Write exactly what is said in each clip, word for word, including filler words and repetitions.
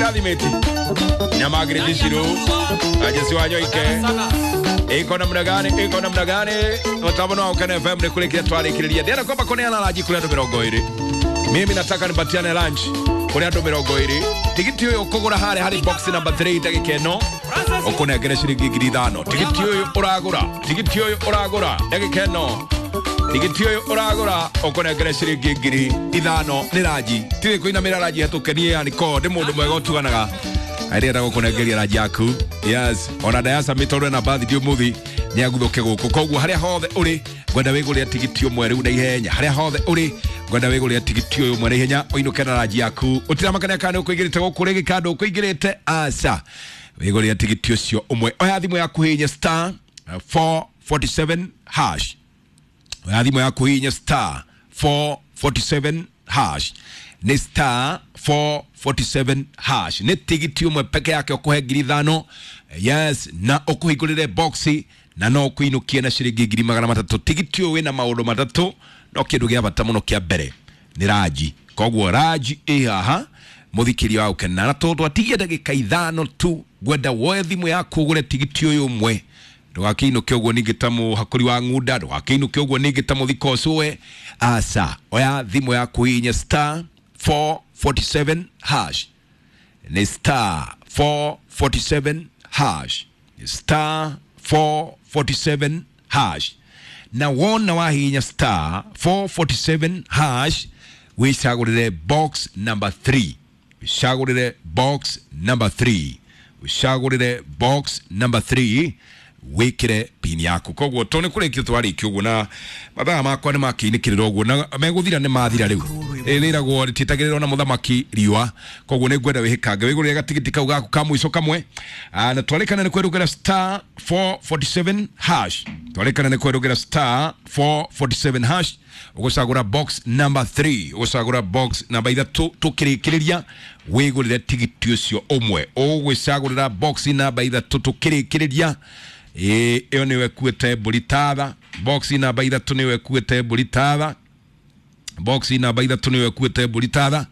Kirathimeti na Margaret Shiru Ajesi wa Nyoike iko namna gani iko namna gani mtambo wa Ukene F M ni kule kile twarikiria ndira kwamba kuneana lunch kule andu mirongo iri. Mimi nataka nipatiane lunch kule andu mirongo iri. Tigiti uyu ukugura hare hari box number three ndagika ino ukunengere ciringi ngiri ithano. Tigiti uyu uragura tigiti uyu uragura ndagika ino tigiti uyu uragura ukunengere ciringi ngiri ithano ni raji tiri kuinamira raji hatukenie yani ko ndi mundu mwega utuganaga arenda gukunengeria raji yaku. Yes, ona Dayasa mitoro na bathi umuthi ni aguthuke guku koguo haria hothe uri ngwenda wigurira tigiti umwe riu na ihenya haria hothe uri ngwenda wigurira tigiti uyu umwe na ihenya uinuke na raji yaku utiramakania kana ukuigirite guku rigi kando ukuigirite aca wigurira tigiti ucio umwe oya thimu yaku hinya star four forty-seven hash oya thimu yaku hinya star four forty-seven hash ni star four forty-seven hash ni tigiti umwe peke yake ukuhe ngiri ithano. Yes, na ukuhingurire boxi na no kuinukie na ciringi ngiri magana matatu. Tigiti uyu wina maundu matatu no kindu gia bata muno kia mbere ni raji koguo raji i haha muthikiria wa Ukena na tondu atigie ndagika ithano tu ngwenda woe thimu yaku ugure tigiti uyu umwe ndugakiinuke uguo ningi ta muhakuri wa ng'unda ndugakiinuke uguo ningi ta muthiko ucue aca oya thimu yaku hinya star four forty-seven hash ni star four forty-seven hash star four forty-seven hash na wona wahinya star four forty-seven hash wicagurire box number three wicagurire box number three wicagurire box number three wikire pin yaku koguo to ni kurikia twarikia uguo na mathaa makwa ni makiinikirira uguo na meguthira ni mathira riu riragwo rititagirira na muthamaki riua koguo ni ngwenda wihikange wigurire gatigiti kau gaku ka mwico kamwe na twarikana ni kwerugera star four forty-seven hash twarikana ni kwerugera star four forty-seven hash ugucagura box number three ugucagura box number ithatu tukirikiriria wigurire tigiti ucio umwe ugwicagurira box number ithatu tukirikiriria ä ä yo nä wekuä mbå tatha box namba ithatå nä wekuä mbå tatha box namba ithatå nä wekuä mbå tatha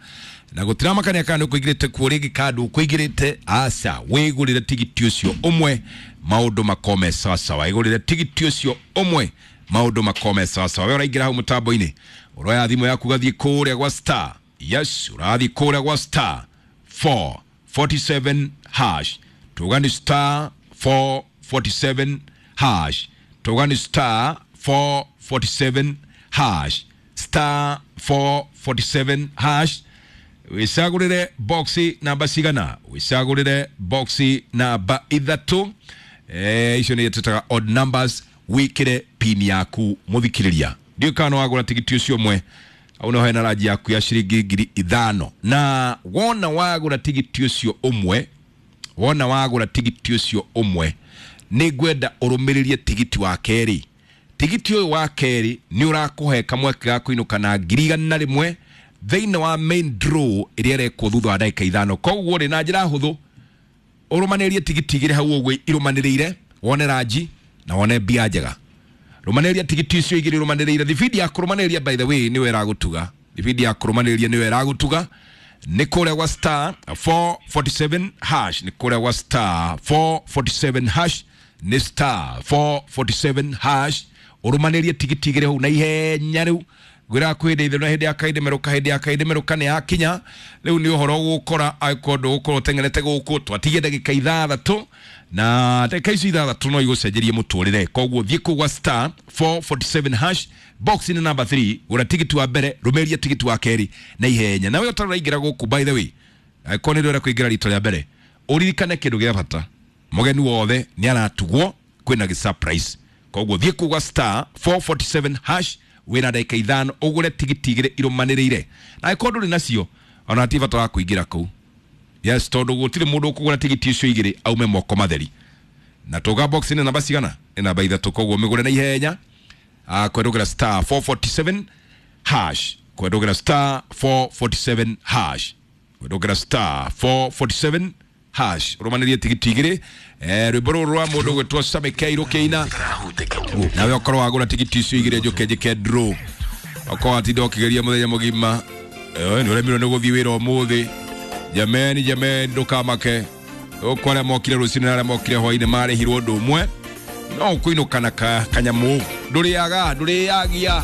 na gå tiramakania kana nä kå igä rä te kuo rä ngä kandå kå igä rä te aca wä gå rä re tigiti å cio å mwe maå ndå makome sawasawa wä gå rä re tigiti å cio å mwe maå ndå makome sawasawa we å raingä ra hau må tambo-inä å roya thimå yaku gathiä kå rä a gwa star yes å rathiä kå rä a gwa star four forty-seven hash tuga ni star four forty-seven hash tuga ni star four forty-seven hash star four forty-seven hash wicagurire boxi namba cigana wicagurire boxi namba ithatu eh icio ni tutaga odd numbers wikire pin yaku muthikiriria ndio kana wagura tigiti ucio mwe au no hena raji yaku ya ciringi ngiri ithano na wona wagura tigiti ucio umwe wona wagura tigiti ucio umwe nĩ ngwenda ũrũmĩrĩrie tigiti wa kerĩ tigiti ũyũ wa kerĩ nĩ ũrakũhe kamweke ga kũinũka na ngiri igana rĩmwe thĩinĩ wa main draw ĩrĩa ĩrekwo thutha wa ndagĩka ithano koguo rĩ na njĩra hũthũ ũrũmanĩrie tigiti igĩrĩ hau ũguo irũmanĩrĩire wone ranji na wone mbia njega rũmanĩrĩria tigiti icio igĩrĩ ũrũmanĩrĩire thibindi ya kũrũmanĩrĩria by the way nĩwe ĩragũtuga thibindi ya kũrũmanĩrĩria nĩwe ĩragũtuga nĩ kũrĩa gwa star four forty-seven hash nĩ kũrĩa gwa star four forty-seven hash nĩ star four forty-seven hash ũrũmanĩrie tigiti igĩrĩ hau na ihenya rĩu ngwĩraga kwĩ hĩndĩ itherũ na hĩndĩ ya kaĩndĩ merũka hĩndĩ ya kaĩndĩ merũka nĩ yakinya rĩu nĩ ũhoro ũgũkora angĩkorwo ndũgũkorwo ũteng'erete gũkũ twatigie ndagĩka ithathatũ na ndagĩka icio ithathatũ no igũcenjerie mũtũrĩre koguo thiĩ kũu gwa star four forty-seven hash box nĩ number three gũra tigiti wa mbere rũmĩrĩria tigiti wa kerĩ na ihenya nawe ũtaraingĩra gũkũ by the way angĩkorwo nĩ ũrenda kũingĩra rita rĩa mbere ũririkane kĩndũ gĩa bata mũgeni wothe nĩ aratugwo kwĩna gĩ surprise koguo thiĩ kũu gwa star four forty-seven hash wĩna ndagĩka ithano ũgũre tigiti igĩrĩ irũmanĩrĩire na angĩkorwo ndũrĩ nacio ona ti bata wa kũingĩra kũu yes tondũ gũtirĩ mũndũ ũkũgũra tigiti icio igĩrĩ aume moko matheri na tũga box nĩ namba cigana nĩ namba ithatũ koguo mĩgũre na ihenya kwendũgĩra star four forty-seven hash kwendũgĩra star four forty-seven hash kwendũgĩra star four forty-seven hash ũrũmanĩrie tigiti igĩrĩ eh rwĩmbo rũrũ rwa mũndũ gwĩtwo Sammy K rũkĩina nawe ũkorwo wagũra tigiti icio igĩrĩ njũke njĩke draw okorwo watinda ũkĩgeria mũthenya mũgima eh nĩ ũremirwo nĩ gũthiĩ wĩra ũmũthĩ Jameni, jameni, ndukamake. Uko aria mokire rucini na aria mokire hwaini marĩhirwo ũndũ ũmwe, no ũkũinũka na ka, kanyamũ ndũrĩaga, ndũrĩagia.